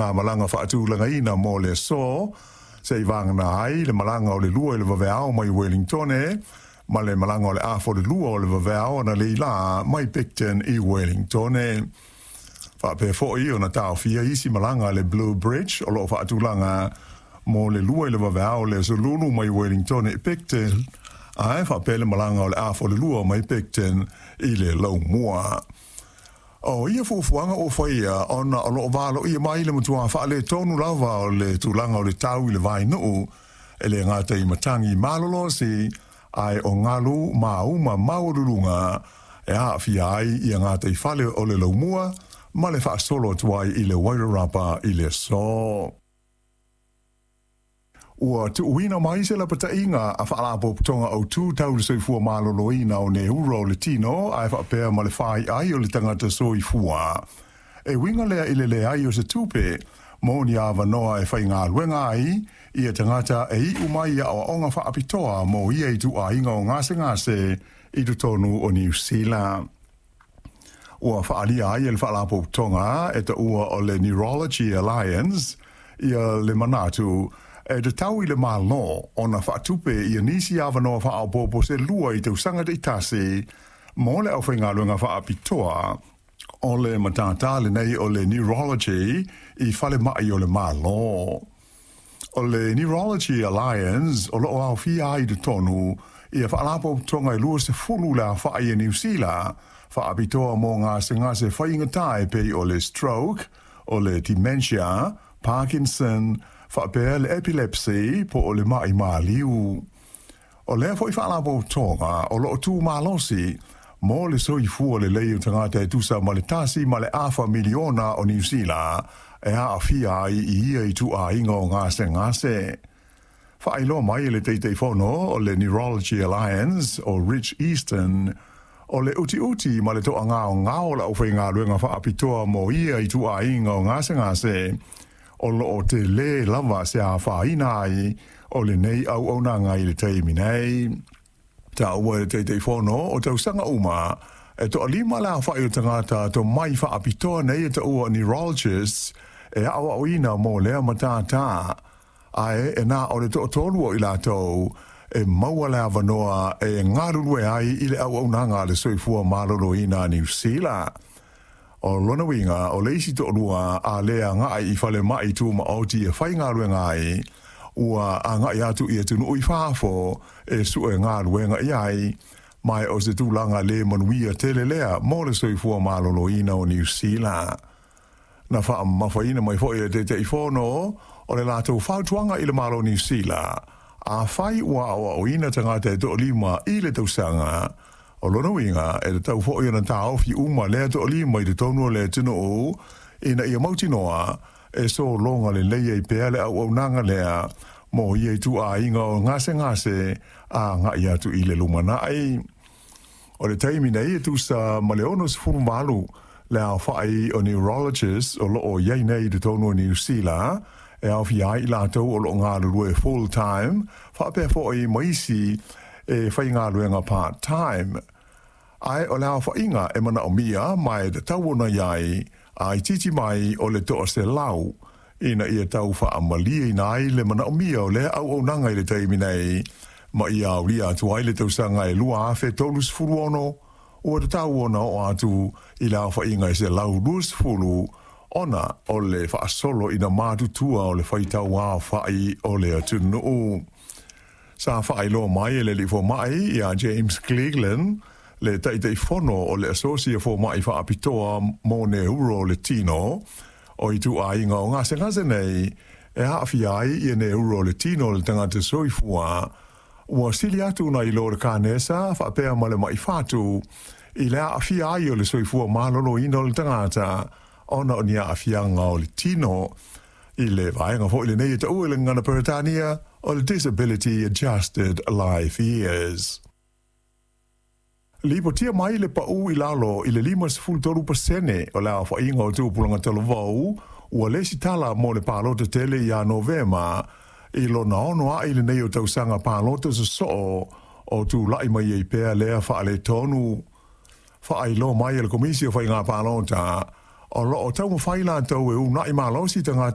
Malaga faatulagaina mo le aso, se'i vagana ai le malaga o le 2 i le vaveao mai Wellingtone, ma le malaga o le 1:30 o le vaveao analeila mai Picton i Wellingtone. Faapea fo'i ona taofia isi malaga a le Blue Bridge o lo'o faatulaga mo le 2 i le vaveao o le aso Lulu mai Wellingtone i Picton, ae faapea le malaga o le 1:30 mai Picton i le Laumua. O ia fuafuaga ua faia ona o lo'o valoia mai le matuā faaletonu lava o le tulaga o le tau i le vainuu, e le gata i matagi malolosi, ae o galu mauma maualuluga e aafia ai ia gataifale o le Laumua ma le faasolo atu ai i le Wairarapa i le aso. Ua tuuina mai se lapataiga a Faalapotopotoga Autu Tau le Soifua Maloloina o Neuro o le Tino ae faapea ma le faiai o le tagata soifua. E uiga lea i le leai o se tupe mo ni avanoa e faigaluega ai ia tagata e iu mai i aoaoga faapitoa mo ia ituaiga o gasegase i totonu o Niu Sila. Ua faaalia ai e le Faalapotopotoga e taua o le Neurology Alliance ia le manatu e tatau i le Malo ona faatupe ia nisi avanoa faaopoopo se 2 i tausaga taitasi mo le aufaigaluega faapitoa o le matata lenei o le Neurology i falemai o le Malo. O le Neurology Alliance o loo aofia ai i totonu ia faalapotopotoga e 20 le aofai e Niu Sila faapitoa mo gasegase faigata e pei o le stroke, o le dementia, Parkinson, faapea le epilepsy po o le ma'i maliu. O lea fo'i faalapotopotoga o loo tu malosi mo le soifua lelei o tagata e tusa ma le 1.5 miliona o Niu Sila e aafia ai i ia ituaiga o gasegase. Faailoa mai e le Taitaifono o le Neurology Alliance o Rich Easton, o le utiuti ma le toagaogao o le aufaigaluega faapitoa mo ia ituaiga o gasegase o loo tele lava se afaina ai o lenei auaunaga i le taimi nei. Taua e le Taitaifono o tausaga uma e 5 le aofa'i o tagata tomai faapitoa nei e taua neurologists e aoaoina mo lea matātā, ae e na o le 3 o i latou e maua le avanoa e galulue ai i le auaunaga a le soifua maloloina a Niu Sila. O lona uiga o le isi 2 a le agai i falemai tumaoti e faigaluega ai, ua agai atu i atunuu i fafo e sue galuega i ai, ma o se tulaga le manuia tele lea mo le soifua maloloina o Niu Sila. Na faamamafaina mai foi e le Taitaifono o le latou fautuaga i le Malo Niu Sila, afai ua aoaoina tagata e 5 i le tausaga, o lona uiga e tatau foi ona taofi uma lea 5 i totonu o le atunuu ina ia mautinoa e sologa lelei ai pea le auaunaga lea mo ia ituaiga o gasegase agai atu i le lumanai. O le taimi nei e tusa ma le 68 le aofa'i o neurologists o loo iai nei i totonu o Niu Sila, e aofia ai i latou o loo galulue full time faapea fo'i ma isi e faigaluega part time. Ae o le aofa'iga e manaomia ma e tatau ona i ai a itiiti mai o le 100 ina ia tau faamalieina ai le manaomia o lea auaunaga i le taimi nei ma ia aulia atu ai le tausaga e 2036, ua tatau ona oo atu i le aofa'iga e 120 ona o le faasolo ina matutua o le faitau aofa'i o le atunuu. Sa faailoa mai e le alii foma'i ia James Cleland, le Taitaifono o le Asosi a Foma'i Faapitoa mo Neuro o le Tino, o ituaiga o gasegase nei e aafia ai ia neuro o le tino o le tagata soifua ua sili atu nai lo le kanesa faapea ma le ma'i fatu i le aafia ai o le soifua maloloina o le tagata ona o ni aafiaga o le tino i le vaega fo'i lenei e taua i le gagana Peretania o le Disability Adjusted Life Years. Lipotia mai le pau i lalo i le 53% o le aofaiga o tupulaga talavou ua lesitala mo le palota tele ia Novema i lona 6 a'i lenei o tausaga palota sosoo o tula'i mai ai pea lea faaletonu. Faailoa mai e le Komisi o Faiga Palota o loo taumafai latou e una'i malosi tagata.